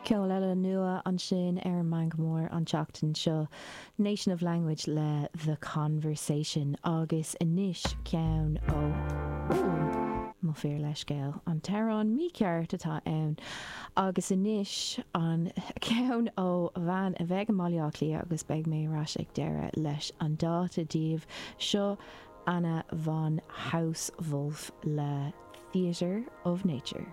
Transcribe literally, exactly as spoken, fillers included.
Ceol eile nua ansin ar an Meangadh Mór an tseachtain seo, Nation of Language le The Conversation agus anois ceann ó mo fhíorleithscéal an t-amhrán mícheart atá ann agus anois an ceann ó bhean a bheidh i mBaile Átha Cliath agus beidh mé ar ais ag deireadh leis an dáta daoibh seo Anna von Hausswolff le Theatre of Nature.